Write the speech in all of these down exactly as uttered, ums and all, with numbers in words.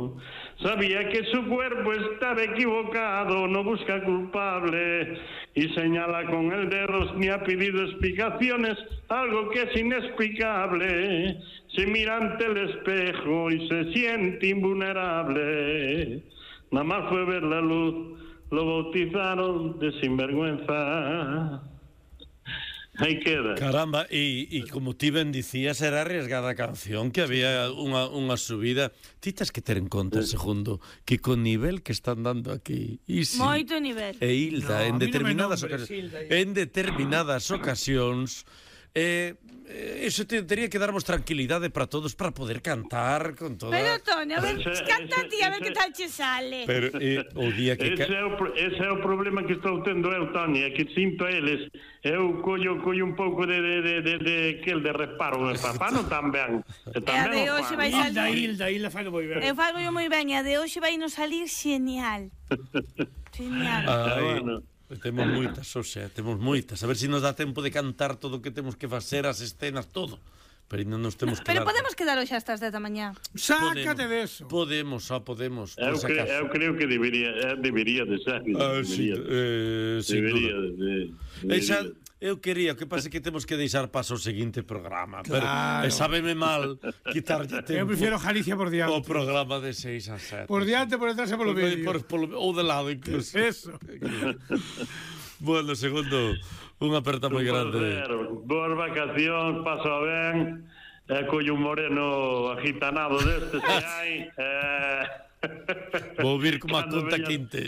equivocado. Sabía que su cuerpo estaba equivocado, no busca culpable y señala con el dedo ni ha pedido explicaciones, algo que es inexplicable. Se mira ante el espejo y se siente invulnerable. Nada más fue ver la luz, lo bautizaron de sinvergüenza. Aí queda. Caramba, e, e como ti ben dicías, era arriesgada a canción, que había unha, unha subida. Ti tes que ter en conta, segundo, que con nivel que están dando aquí Isi, moito nivel. E Hilda, no, en determinadas no nombres, ocasións, Hilda, en determinadas ocasións, eh, eso te, teria que darmos tranquilidade para todos para poder cantar con toda... Pero, Toni, a ver, Ese- canta ese- ti, a ver ese- que tal che sale. Pero eh, o día que... Ese é, o, pro- ese é o problema que estou tendo eu, Toni, é que sinto a eles. Eu collo, collo un pouco de, de, de, de, de, que el de reparo, de papá non tan ben. E E a de tamén o hoxe fan. vai Hilda, salir. Hilda, Hilda fai moi ben. Eu fago yo moi ben, e a de hoxe vai nos salir genial. Genial. Ai, bueno. temos moitas, o sea, temos moitas. A ver se nos dá tempo de cantar todo o que temos que facer, as escenas, todo. Pero ainda nos temos que Pero dar... podemos quedar hoxe hasta as dez da mañá. Sácate de eso. Podemos, só podemos, por Eu, si cre, acaso. eu creo que debería, eh, debería de ser. Ah, sí, debería, eh, sin debería duda. de, de, E xa, debería. eu quería, o que pasa é que temos que deixar paso ao seguinte programa. Claro. Pero, e sábeme mal quitarlle tempo Eu prefiero Galicia por diante. o programa de seis a sete. Por diante, por detrás e polo Por- medio. por- por- ou de lado incluso. Eso. Bueno, segundo, unha aperta moi grande. Boas vacacións, paso ben. E collo un moreno agitanado destes que hai. Eh... Vou vir como a Cando conta veñas- quinte.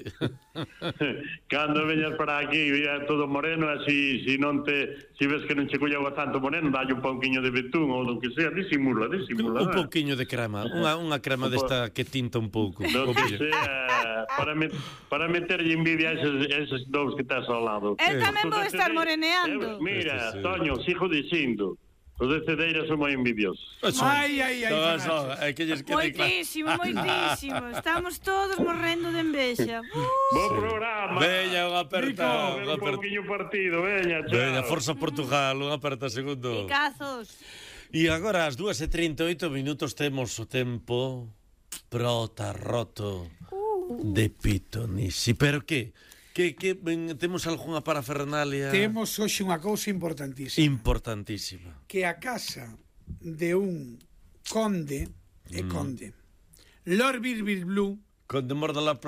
Cando veñas para aquí é todo moreno, así si non te, si ves que non che colleu tanto moreno, dalle un pouquiño de betún ou do que sea, disimula, disimula. Un pouquiño de crema, unha, unha crema desta que tinta un pouco. Do O que pillo. sea, para, met, para meterlle envidia a eses, eses dous que estás ao lado. Eu tamén vou Os de estar Cedeira- moreneando. Eu- Mira, Este sí. Toño, sigo dicindo, os de Cedeira son moi envidiosos. Ai, ai, ai, Son, Fanaches. son, é que lles quede claro. Moitísimo, moitísimo. Estamos todos morrendo de envexa. Uh, Bo programa. Veña, unha aperta, Ver unha un aperta. pouquiño partido, veña, chao. Veña, Forza Portugal, unha aperta segundo. Picazos. E agora ás dúas e trinta e oito minutos temos o tempo prota roto de Pitonisi. Pero que? Que, que ben, temos algunha parafernalia Temos hoxe unha cousa importantísima. importantísima. Que a casa de un conde, é conde, Lord Birbir Blue, Con de morda la